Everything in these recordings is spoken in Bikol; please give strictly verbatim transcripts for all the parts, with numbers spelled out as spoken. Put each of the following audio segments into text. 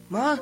Ma,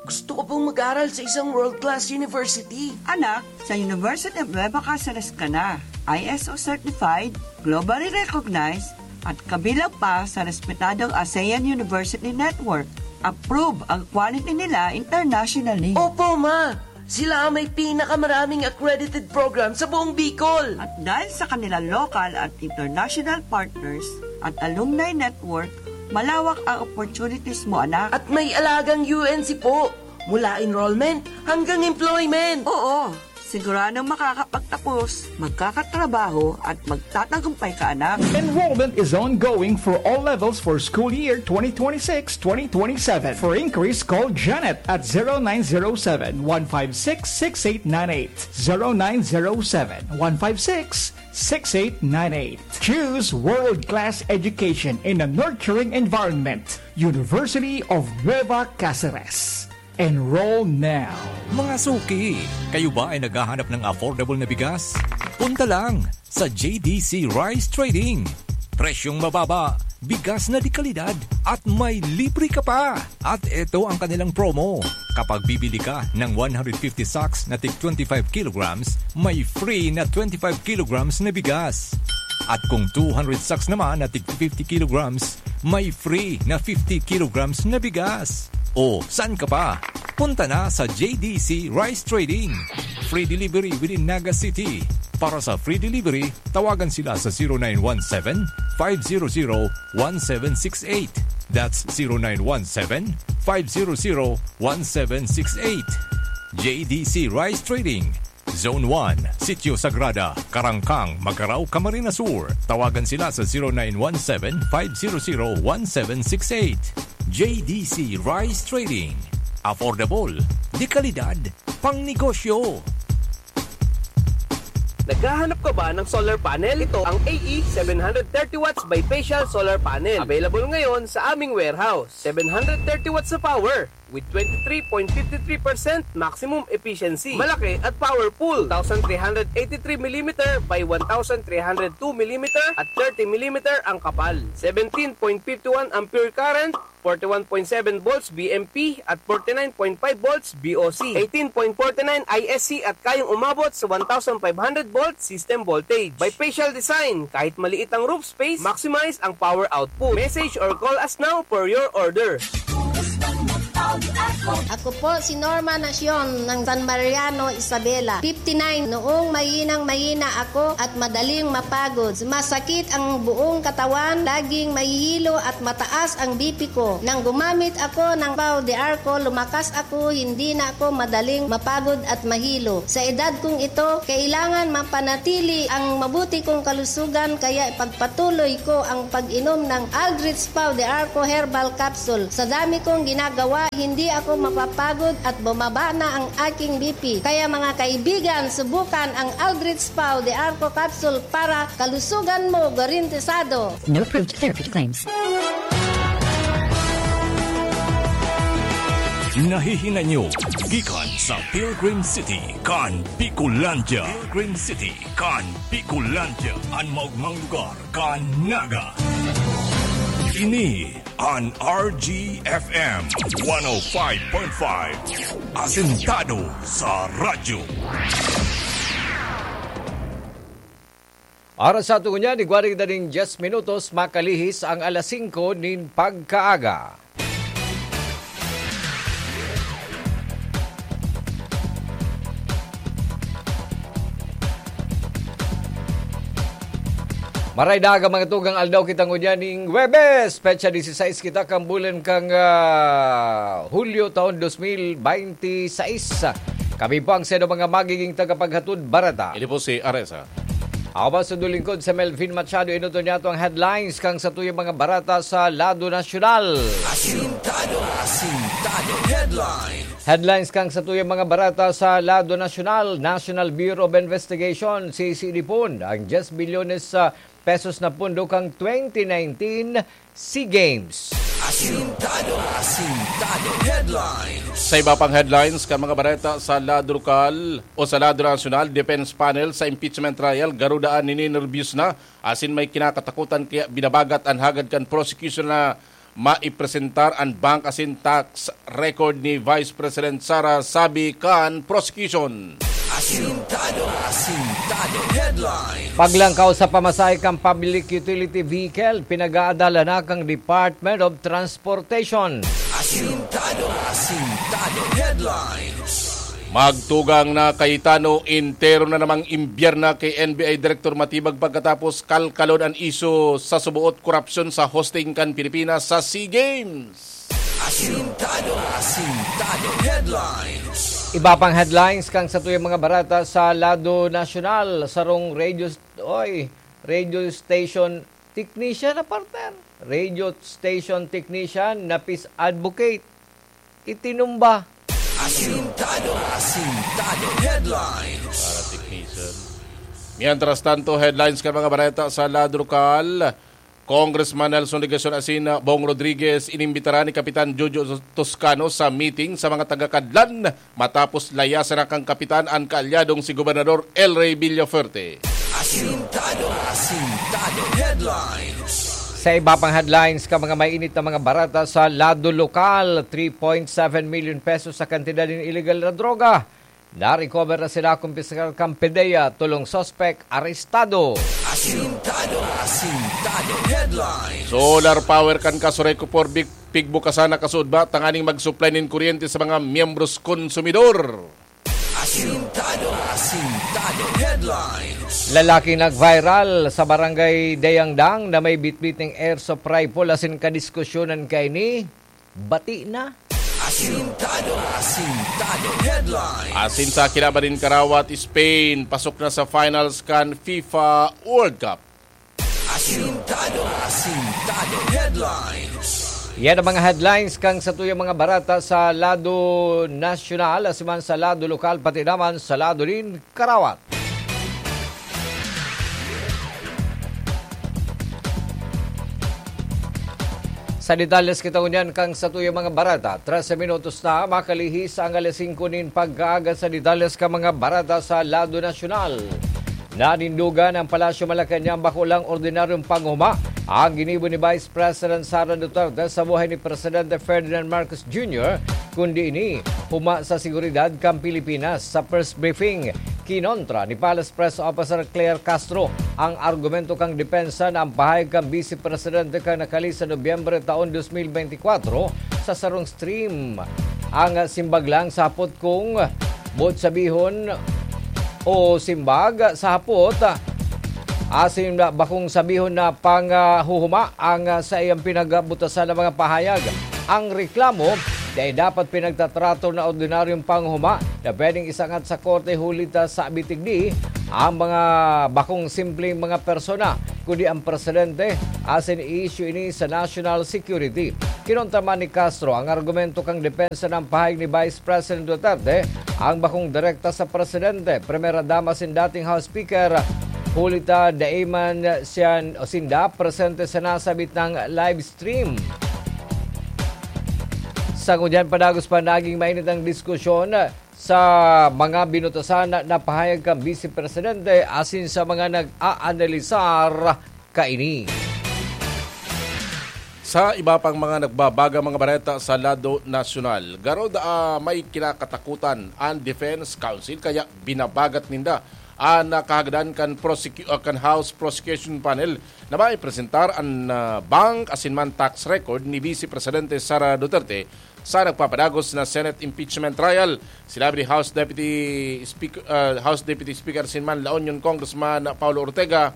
gusto ko pong mag-aral sa isang world-class university. Anak, sa University of Nueva Caceres ka na. I S O certified, globally recognized, at kabilang pa sa respetadong ASEAN University Network. Approve ang quality nila internationally. Opo, ma! Sila ang may pinakamaraming accredited program sa buong Bicol. At dahil sa kanilang local at international partners at alumni network, malawak ang opportunities mo, anak. At may alagang U N C po, mula enrollment hanggang employment. Oo, siguradong makakapagtapos, magkakatrabaho, at magtatagumpay ka, anak. Enrollment is ongoing for all levels for school year twenty twenty-six twenty twenty-seven. For inquiries, call Janet at zero nine zero seven, one five six, six eight nine eight. Zero nine zero seven, one five six, six eight nine eight. Choose world-class education in a nurturing environment. University of Nueva Caceres. Enroll now. Mga suki, kayo ba ay naghahanap ng affordable na bigas? Punta lang sa J D C Rice Trading. Presyong mababa, bigas na de kalidad, at may libre ka pa! At eto ang kanilang promo. Kapag bibili ka ng one hundred fifty sacks na tig twenty-five kilograms, may free na twenty-five kilograms na bigas. At kung two hundred sacks naman na tig fifty kilograms, may free na fifty kilograms na bigas. O, saan ka pa? Punta na sa J D C Rice Trading. Free delivery within Naga City. Para sa free delivery, tawagan sila sa zero nine one seven, five zero zero, one seven six eight. That's zero nine one seven, five zero zero, one seven six eight. J D C Rice Trading, Zone one, Sitio Sagrada, Carangcang, Magarao, Camarines Sur. Tawagan sila sa zero nine one seven, five zero zero, one seven six eight. J D C Rice Trading. Affordable, de kalidad, pangnegosyo. Naghahanap ka ba ng solar panel? Ito ang A E seven hundred thirty watts bifacial solar panel. Available ngayon sa aming warehouse. Seven hundred thirty watts na power with twenty-three point five three percent maximum efficiency. Malaki at powerful. Two thousand three hundred eighty-three millimeter by one thousand three hundred two millimeter at thirty millimeter ang kapal. Seventeen point five one ampere current, forty-one point seven volts B M P at forty-nine point five volts B O C, eighteen point forty-nine I S C at kayang umabot sa one thousand five hundred volt system voltage. Bifacial design, kahit maliit ang roof space, maximize ang power output. Message or call us now for your order. Ako po si Norma Nacion ng San Mariano, Isabela, fifty-nine. Noong mahinang-mahina ako at madaling mapagod, masakit ang buong katawan, laging mahihilo at mataas ang B P ko. Nang gumamit ako ng Pau de Arco, lumakas ako, hindi na ako madaling mapagod at mahilo. Sa edad kong ito, kailangan mapanatili ang mabuti kong kalusugan, kaya ipagpatuloy ko ang pag-inom ng Aldrich Pau de Arco Herbal Capsule. Sa dami kong ginagawa, hindi ako mapapagod at bumaba na ang aking B P. Kaya, mga kaibigan, subukan ang Aldrich Pau de Arco Capsule para kalusugan mo garantisado. No approved therapy claims. Nahihinay nyo gikan sa Pilgrim City, kan Bicolandia. Pilgrim City, kan Bicolandia, an maogmang lugar kan Naga. Ini an R G F M one oh five point five, asentado sa radyo. Oras sa aton ngunyan, igwa nin dyes minutos makalihis ang alas singko nin pagkaaga. Maray daga, mga tugang, aldaw kita ngunyan ning Huwebes, petsa disisais kita kan bulan kan, ah, Hulyo, taon dos mil bente sais. Kami po ang sa inyo mga magiging tagapaghatod bareta. Ini po si Aresa. Ako po sa lingkod, si Melvin Machado. Enoton niyato ang headlines kan satuyang mga bareta sa lado nasyonal. Asintado, asintado. Headlines. Headlines kan satuyang mga bareta sa lado nasyonal. National Bureau of Investigation, C C D pon, ang dyes bilyones sa pesos na pondo kan twenty nineteen SEA Games. Asintado, asintado. Headlines. Sa iba pang headlines kan mga bareta sa lado lokal o sa lado nasyonal, defense panel sa impeachment trial, garo daan ninenerbiyos na asin may kinakatakutan, kaya binabagat an hagad kan prosecution na maipresentar an bank asin tax record ni Vice President Sara, sabi kan prosecution. Asintado, asintado headlines. Paglangkaw sa pamasahe kan public utility vehicle, pinag-aadala na kan Department of Transportation. Asintado, asintado headlines. Magtugang na Cayetano, entero na namang imbyerna ki N B I Director Matibag pagkatapos kalkalon an isyu sa suboot korapsyon sa hosting kan Pilipinas sa SEA Games. Asintado, asintado headlines. Iba pang headlines kan satuyang mga bareta sa lado nasyonal. Sarong radio, oy, radio station technician na, partner. Radio station technician na peace advocate itinumba. Asintado, asintado headlines. Para technician. Mientras tanto, headlines kan mga bareta sa lado lokal. Congressman Nelson Legacion asin Bong Rodriguez inimbitaran ni Kapitan Jojo Toscano sa meeting sa mga taga-Cadlan matapos layasan na kan Kapitan an kaalyadong si Gobernador El Rey Villafuerte. Asintado, asintado headlines. Sa iba pang headlines kan mga mainit na mga bareta sa lado lokal, three point seven million pesos sa kantidad nin illegal na droga. Na-recover na sila, kumpiskar kan PDEA, tolong suspek arestado. Asintado, asintado headlines. Solar power kan Casureco four big pigbukasan na kasuodba tanganing mag-supply nin kuryente sa mga miyembros konsumidor. Asintado, asintado headlines. Lalaki nag-viral sa Barangay Dayangdang na may bitbit ning airsoft rifle asin kadiskusyonan kaini. Bati na. Asintado, asintado headlines. Asin sa kinaban nin karawat, Spain pasok na sa finals kan FIFA World Cup. Asintado, asintado headlines. Yan ang mga headlines kan satuyang mga bareta sa lado nasyonal, asin man sa lado lokal, pati naman sa lado nin karawat. Sa detalles kita ngunyan kan satuyang mga bareta. Trese minutos na makalihis ang alas singko nin pagkaaga. Sa detalles kan mga bareta sa lado nasyonal. Nanindugan ang Palasyo Malacañang bako lang ordinaryong panghuma ang ginibo ni Vice President Sara Duterte sa buhay ni Presidente Ferdinand Marcos Junior, kundi ini huma sa seguridad kan Pilipinas. Sa press briefing, kinontra ni Palace Press Officer Claire Castro ang argumento kan depensa na ang pahayag kan Vice Presidente kan nakalis sa Nobyembre taon dos mil bentikuwatro sa sarong stream ang simbag lang sa hapot kung boot sabihon o simbag sa hapot, asin bakong sabihon na panghuhuma ang saiyang pinagbutasan na mga pahayag. Ang reklamo dai dapat pinagtatrato na ordinaryong panghuma na pwedeng isangat sa korte, huli ta sa bitigdi ang mga bakong simpleng mga persona, kundi ang presidente, asin i-issue ini sa national security. Kinontra man ni Castro ang argumento kan depensa na pahayag ni Vice President Duterte ang bakong direkta sa presidente, Primera Dama asin dating House Speaker, huli ta dai man siya o sinda presente sa nasabit na live stream. Sa ngunyan, padagos pa naging mainit ang diskusyon sa mga binutasan na pahayag kan Vice Presidente asin sa mga nag-aanalisar kaini. Sa iba pang mga nagbabagang mga bareta sa lado nasyonal, garo daa may kinakatakutan an Defense Council, kaya binabagat ninda an, ah, kahagadan kan prosecu-, ah, kan House Prosecution Panel na maipresentar an, ah, bank asin man tax record ni Vice Presidente Sara Duterte sa nagpapadagos na Senate impeachment trial. Sinabi ni House Deputy Speak-, ah, House Deputy Speaker asin man La Union Congressman Paulo Ortega,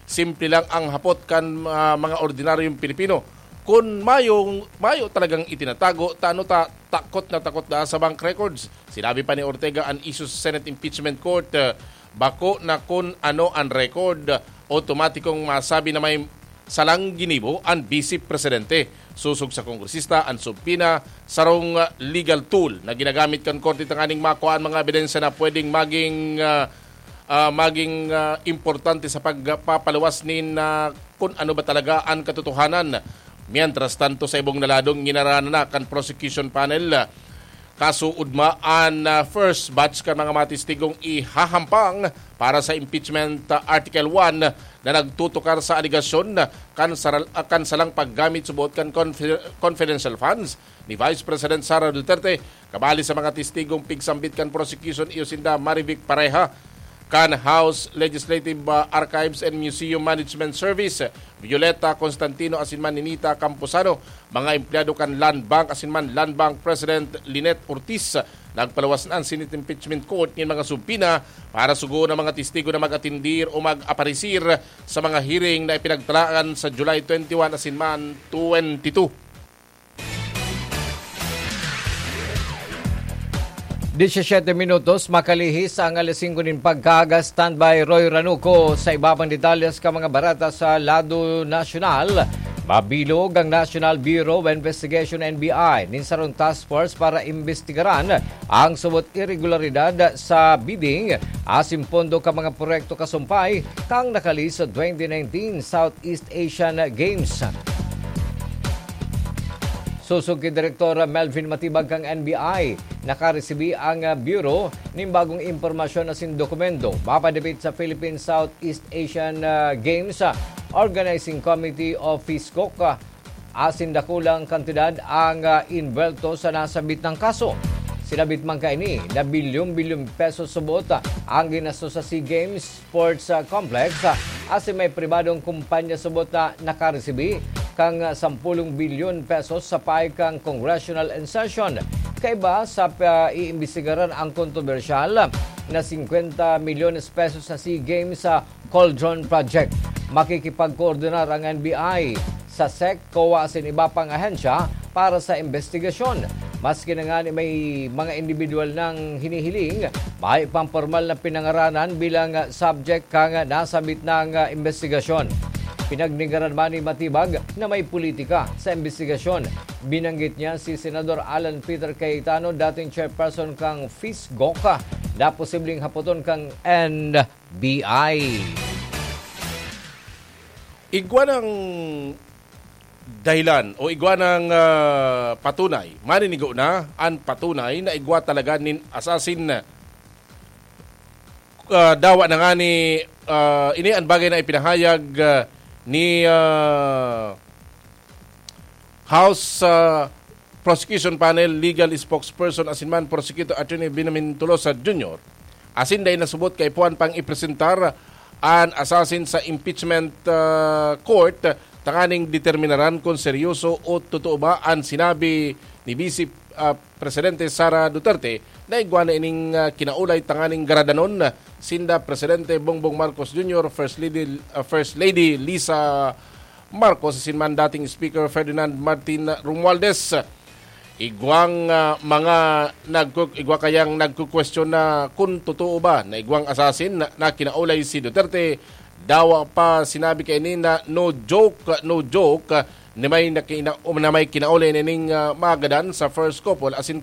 simple lang ang hapot kan, ah, mga ordinaryong Pilipino. Kun mayong, mayo talagang itinatago, ta ano ta, takot na takot na sa bank records? Sinabi pa ni Ortega an isyu sa Senate Impeachment Court, ah, bako na kun ano an record, otomatikong masabi na may salang ginibo an Vice Presidente. Sosog sa kongresista, an subpoena, sarong, ah, legal tool na ginagamit kan korte tanganing makua an mga ebidensya na pwedeng maging, ah, ah, maging, ah, importante sa pagpapaluwas nin, ah, kun ano ba talaga an katotohanan. Mientras tanto, sa ibong na lado, ginarana na kan prosecution panel, ah, Kasuodma an, ah, first batch kan mga matistigong ihahampang para sa impeachment, ah, Article one na nagtutukar sa alegasyon kan saral-, ah, kan salang paggamit subot kan confi-, confidential funds ni Vice President Sara Duterte. Kabali sa mga testigong pigsambit kan prosecution, iyo sinda Marivic Pareha kan House Legislative, ah, Archives and Museum Management Service, Violeta Constantino asin man Ninita Camposano, mga empleyado kan Land Bank asin man Land Bank President Lynette Ortiz. Nagpaluwas na an Senate Impeachment Court nin mga subpoena para sugoon ang mga testigo na mag-atendir o mag-aparisir sa mga hearing na ipinagtalaan sa July twenty-one asin man twenty-two. Diecisiete minutos makalihis ang alas singko nin pagkaaga. Standby Roy Ranuco sa iba pang detalles kan mga bareta sa lado nasyonal. Mabilog ang National Bureau of Investigation, N B I, nin sarong task force para imbestigaran ang subot irregularidad sa bidding asin pondo kan mga proyekto kasumpay kan nakalihis sa twenty nineteen Southeast Asian Games. Sosog ki Direktor Melvin Matibag kan N B I, nakaresibi ang, ah, Bureau nin bagong impormasyon asin dokumento mapadapit sa Philippine Southeast Asian, ah, Games, ah, Organizing Committee o PHISGOC, ah, asin dakulang kantidad ang, ah, inbwelto sa nasabit na kaso. Sinabit man kaini na bilyon-bilyon pesos subot, ah, ang ginastos sa SEA Games Sports, ah, Complex, ah, asin may pribadong kumpanya subot na nakaresibi kan, ah, sampolong bilyon pesos sa payo kan Congressional Session. Kaiba sa paiimbestigaran ang kontrobersyal na singkwenta milyones pesos na SEA Games sa Cauldron Project. Makikipagkoordinar ang N B I sa SEC, COA asin iba pang ahensya para sa imbestigasyon. Maski na ngani may mga individual nang hinihiling, mayo pang pormal na pinangaranan bilang subject kan nasabit na imbestigasyon. Pinagnegaran man ni Matibag na may politika sa imbestigasyon. Binanggit niya si Senador Alan Peter Cayetano, dating chairperson kan PHISGOC, na posibleng hapoton kan N B I. Igwa nang dahilan o igwa nang, ah, patunay, maninigo na an patunay na igwa talaga nin assassin. Ah, dawa na ngani, ah, ini an bagay na ipinahayag, ah, ni, ah, House, ah, Prosecution Panel Legal Spokesperson asin man Prosecutor Attorney Benjamin Tolosa Junior, asin dai nasubot kaipuhan pang ipresentar an assassin sa impeachment, ah, court tanganing determinaran kun seryoso o totoo ba an sinabi ni Vice, ah, Presidente Sara Duterte na igwa na ining, ah, kinaulay tanganing garadanon sinda Presidente Bongbong Marcos Junior, First Lady, ah, First Lady Lisa Marcos asin man dating Speaker Ferdinand Martin Romualdez. Igwang, ah, mga nagku-, igwa kayang nagkukwestiyon na kun totoo ba na igwang assassin na, na kinaulay si Duterte. Dawa pa sinabi kaini na no joke, no joke, ni may nakina-, na may kinaulay nining, ah, magadan sa first couple asin